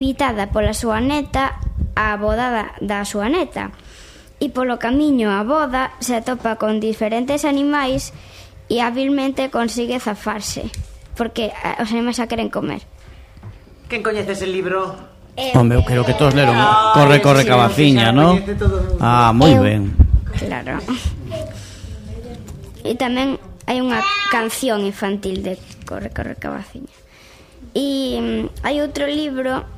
invitada pola súa neta á boda da súa neta. E polo camiño á boda se atopa con diferentes animais e hábilmente consigue zafarse, porque os animais a queren comer. Quen coñece ese libro? Home, eu creo que todos leron Corre, corre, cabaciña, non? Ah, moi ben. Claro. E tamén hai unha canción infantil de Corre, corre, cabaciña. E hai outro libro,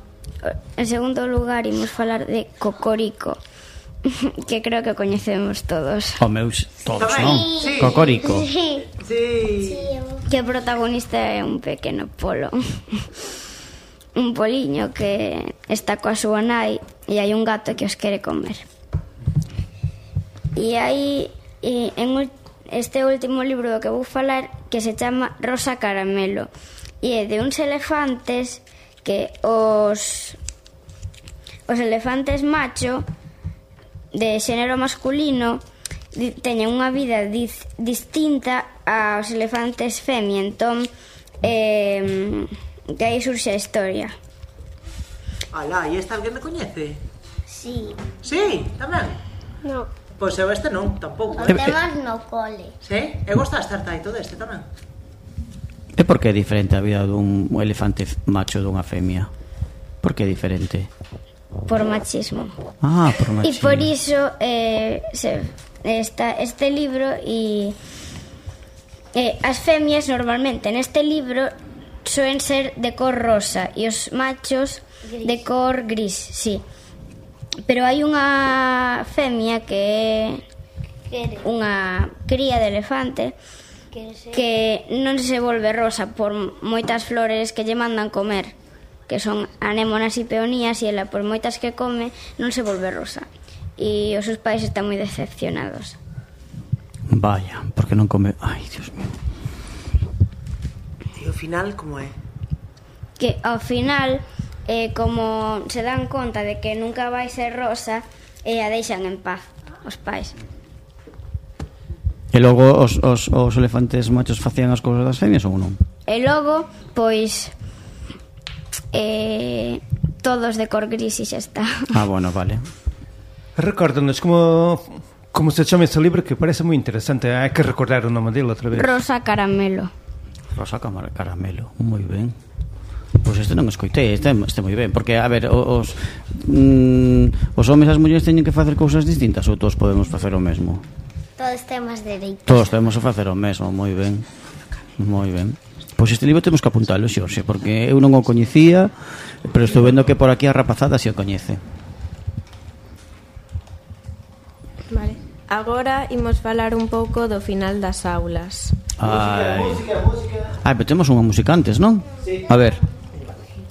en segundo lugar, imos falar de Cocorico, que creo que coñecemos todos. Home, todos, non? Sí. Cocorico. Sí. Sí. Que o protagonista é un pequeno polo. Un poliño que está coa súa nai e hai un gato que os quere comer. E hai en este último libro do que vou falar, que se chama Rosa Caramelo, e é de uns elefantes que os elefantes macho de xénero masculino teñen unha vida distinta aos elefantes femia. Entón que aí surxe a historia. Alá, e esta alguén me coñece? Sí. Sí, tamén? No. Pois eu este non, tampouco. O temas no cole. Sí? Eu gosto de estar taito deste tamén. E por que é diferente a vida dun elefante macho dunha femia? Por que é diferente? Por machismo. Ah, por machismo. E por iso está este libro e as femias normalmente neste libro soen ser de cor rosa e os machos gris. De cor gris, sí. Pero hai unha femia que é unha cría de elefante que non se volve rosa por moitas flores que lle mandan comer, que son anémonas e peonías, e ela por moitas que come non se volve rosa, e os seus pais están moi decepcionados. Vaya, porque non come... Ai, Dios mío. E ao final, como é? Que ao final, como se dan conta de que nunca vai ser rosa, a deixan en paz os pais. E logo os elefantes machos facían as cousas das femias ou non? E logo, pois todos de cor gris e xa está. Ah, bueno, vale. Recórdanos como se chama ese libro, que parece moi interesante. Hai que recordar o nome dele outra vez. Rosa Caramelo. Rosa Caramelo, moi ben. Pois este non escoitei, este moi ben. Porque, a ver, os homens e as mulleres teñen que facer cousas distintas, ou todos podemos facer o mesmo? Todos temos dereitos. Todos temos que facer o mesmo, moi ben. Moi ben. Pois este libro temos que apuntalo, Xorxe, porque eu non o coñecía, pero estou vendo que por aquí a rapazada se o coñece. Vale. Agora imos falar un pouco do final das aulas. Ai, pero temos unha música antes, non? Sí. A ver.